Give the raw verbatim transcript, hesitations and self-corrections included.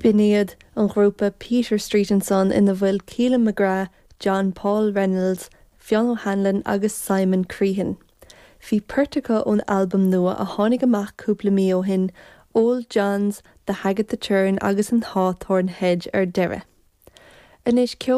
B'in iad an grúpa Peter Street and Son ina bhfuil Keelan McGrath, John Paul Reynolds, Fionn O'Hanlon agus Simon Crehan. Bhí port acu ón albam nua a tháinig amach cúpla mí ó shin, Old Johns, The Hag at the Churn agus an Hawthorn Hedge ar deireadh. Anois ceol